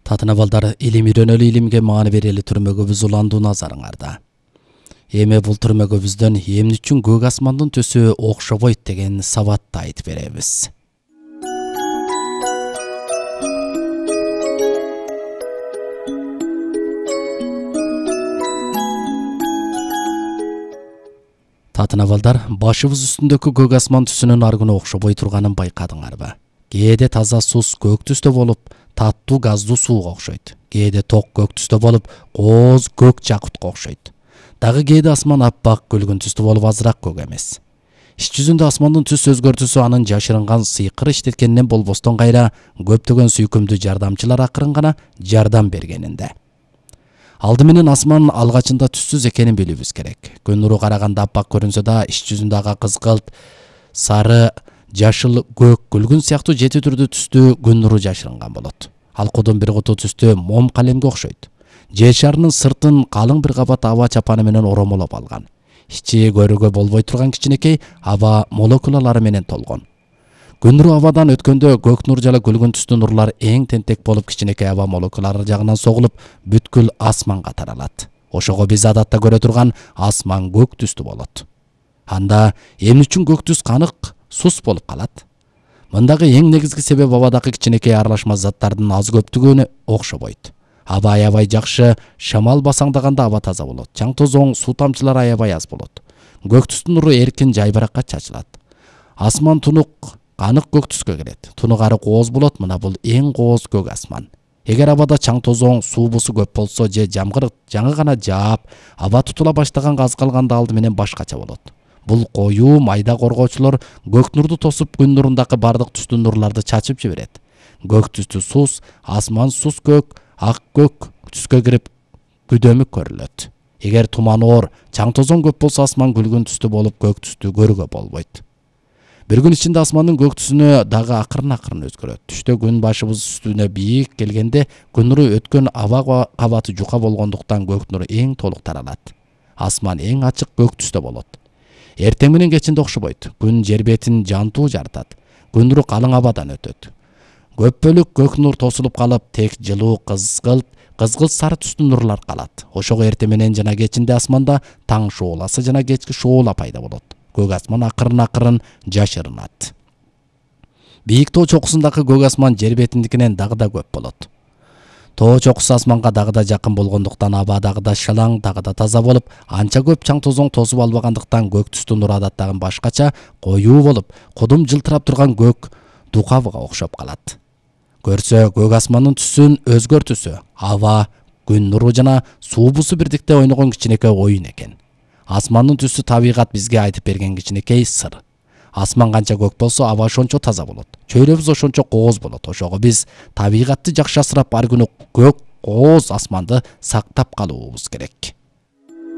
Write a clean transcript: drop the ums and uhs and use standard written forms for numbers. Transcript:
Татына балдар илим үйрөнөлү, илимге маани берели түрмөгөбүз уландуу назарыңарда. Эми бул түрмөгөбүздөн эмне үчүн көк асмандын түсү окшобойт деген сабатты айтып беребиз. Татына балдар, башыбыз үстүндөгү көк асман түсүнүн аргыны окшобой турганын байкадыңарбы? Кээде таза сус көк түстө болуп, таттуу газдуу сууга окшойт. Кээде ток көк түстө болуп, кооз көк жакутка окшойт. Дагы кээде асман аппак күлгүн түстө болуп, азыраак көк эмес. Иш жүзүндө асмандын түс өзгөртүүсү анын жашырынган сыйкыр иштеткенинен болбостон кайра көптөгөн сүйкүмдүү жардамчылар акырын гана жардам бергенинде. Алды менен асман алгачында түссүз экенин билүүбүз керек. Күн нуру караганда аппак көрүнсө да, иш жүзүндө ага кызгылт, сары, жашыл, көк, күлгүн сыяктуу жети түрдүү түстүү күн нуру жашырынган болот. Алкуудун бир куту түстүү мом калемге окшойт. Жер шарынын сыртын калың бир кабат аба чапаны менен оромолоп алган. Ичи көрүүгө болбой турган кичинекей аба молекулалары менен толгон. Күн нуру абадан өткөндө көк нур жана күлгүн түстүү нурлар эң тентек болуп кичинекей аба молекулалары жагынан согулуп бүткүл асманга таралат. Ошого биз адатта көрө турган асман көк түстүү болот. Анда эмне үчүн көк түс канык, сус болуп калат? Мындагы эң негизги себеп абадагы кичинекей аралашма заттардын аз көптүгүнө окшобойт. Аба аябай жакшы шамал басаңдаганда аба таза болот. Чаң тозоң, суу тамчылары аябай аз болот. Көк түстүн нуру эркин жайбаракка чачылат. Асман тунук, канык көк түскө кирет. Тунугары кооз болот, мына бул эң кооз көк асман. Эгер абада чаң тозоң, суу бусу көп болсо же жамгыр жаңы гана жаап, аба тутула баштаганга аз калганда алды менен башкача болот. Бул коюу майда коргоочулор көк нурду тосуп күн нурундагы бардык түстүү нурларды чачып жиберет. Көк түстүү сус, асман сус көк, ак көк түскө кирип күдөмүк көрүлөт. Эгер туман оор, чаң тозоң көп болсо асман күлгүн түстүү болуп көк түстүү көрүүгө болбойт. Бир күн ичинде асмандын көк түсүнө дагы акырын өзгөрөт. Түштө күн башыбыз үстүнө бийик келгенде күн нуру өткөн аба кабаты жука болгондуктан көк нуру эң толук таралат. Асман эң ачык көк түстө болот. Эртең менен кечинде окшобойт. Күн жер бетин жантуу жаратат. Күн нуру калың абадан өтөт. Көп бөлүк көк нур тосулуп калып, тек жылуу кызгылт сары түстүү нурлар калат. Ошого эртең менен жана кечинде асманда таң шооласы жана кечки шоола пайда болот. Көк асман акырын жашырынат. Бийик тоо чокусундагы көк асман жер бетиндикинен дагы да көп болот. Тоо чокусу асманга дагы да жакын болгондуктан аба дагы да шалаң, дагы да таза болуп, анча көп чаң тозоң тосуп албагандыктан көк түстүү нур адаттагы башкача коюу болуп, кудум жылтырап турган көк дукабыга окшоп калат. Көрсө көк асмандын түсүн өзгөртүүсү аба, күн нуру жана суу бусу бирдикте ойногон кичинекей оюн экен. Асмандын түсү табигат бизге айтып берген кичинекей сыр. Асман канча көк болсо, аба ошончо таза болот. Чөйрөбүз ошончо кооз болот. Ошого биз табигатты жакшы асырап, ар күнү көк кооз асманды сактап калуубуз керек.